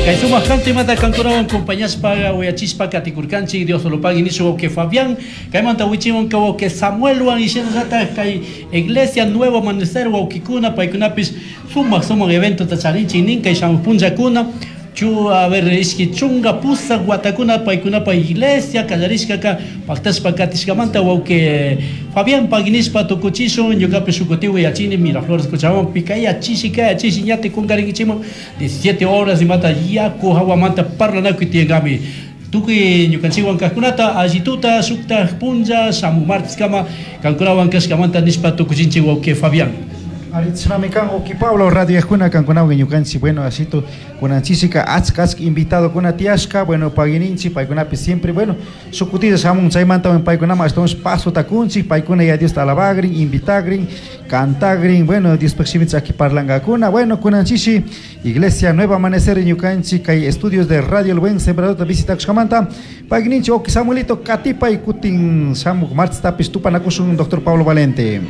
Kay sumak kantimata kankunawan compañashpa uyachishpa katikurkanchik. Dios lo pague nishu wawqi Fabián. Kaymanta wichiwan kay wawqi Samuelwan y shinallatak kay Iglesia Nuevo Amanecer wawqikuna, paykunapish sumak sumak eventota charinchik nin kay shamuq punllakuna. Chu, a ver, ishki chunga pusak watakuna paykunapa iglesia kallarishkaka paktashpa katishkamanta wawqi Fabián pagui nishpa tukuchishun. Ñukapish shuk kutin uyachini Miraflores Cochabambapi kaya chishi kaya chishi ñati kunkarinkichikman 17 horas imata yaku hawamanta parlanakuy tiyankami. Tukuy ñukanchikwan kajkunata allituta shuktaj punlla shamuj marteskama kankunawan kashkamanta nishpa tukuchinchik wawqi Fabián. Aritznami kan wawqi Pablo radioyajkuna kankunawan ñukanchik, bueno, asito kunanchisika achka achka invitadokuna tiyashka, bueno, paguininchik paykunapi siempre, bueno, shuk kutilla shamun chaymanta paykunaman ashtawanshi pasota kunchik, paykuna ya Diosta alabagrin, invitagrin, cantagrin, bueno, Diospaj shimita chaki parlangakuna. Bueno, kunanchishi Iglesia Nueva Amanecer ñukanchik kay estudios de Radio El Buen Sembradorta visitakushkamanta payninchik wawqi Samuelito katipay kutin shamuk martestapish tupanakushun doctor Pablo Valente.